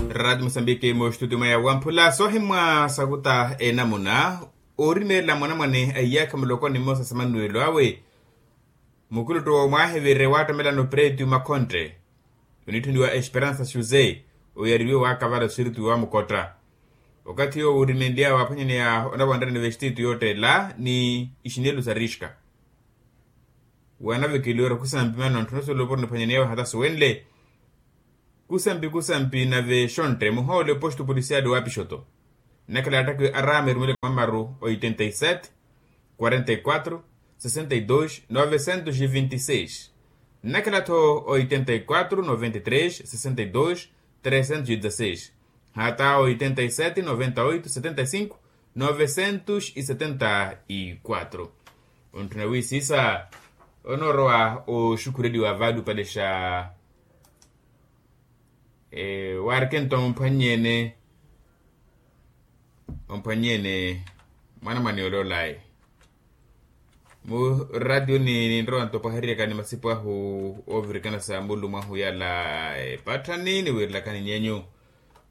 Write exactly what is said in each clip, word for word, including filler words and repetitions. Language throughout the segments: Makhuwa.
Radi musambiki mu studio mweya wamphula sohimwa sakuta enamuna. Orimeela mwanamwane a iyakha mulokoni mmosa sa manuelo awe, mukuluttu womwaha evire waattomelano pretu makhontte, onitthuniwa esperansa jose, oyariwe waakavala sirtu wamukotta. Okathi yoowo orimenly'awe waaphwanyaneya onawanrani vestitu yoottela ni ixinelu sa riska. Wanavekeliwa ori kusampi mano ntthuna soloporo niphwanyaneya wahata suwenle. Kusampi kusampi nave xontte muhoole posto polisiali wa pixoto. Nnakhala attakwi araama erumele mamaru oitenta y sete, quarenta y quatro, sessenta y dois novecentos e vinte y seis. Nnakhala tho oitenta y quatro noventa y três sessenta y dois trecentos e dezasseis, hata oitenta y sete noventa y oito setenta y cinco novecentos e setenta y quatro. Ontthuna wiisisa onoorowa oxukhureliwa vaali opalexa. Waarikento omphwannyene, omphwannyene mwanamwane ole olayi. Mu ratiyoni ninrowa nto opwaheriyakani masipu ahu oovirikana sa mulu mwahu yala epatthani niwiirilakani nyenyu.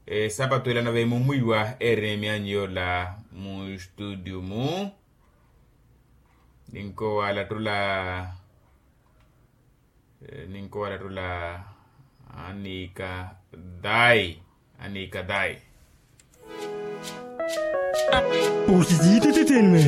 Esapatu ela nave mumwiiwa eri myaanyu yoola mu studio mu. Ninkowaalattula, ninkowaalattula. Aniika dayi, aniika dayi. Osisiitititini.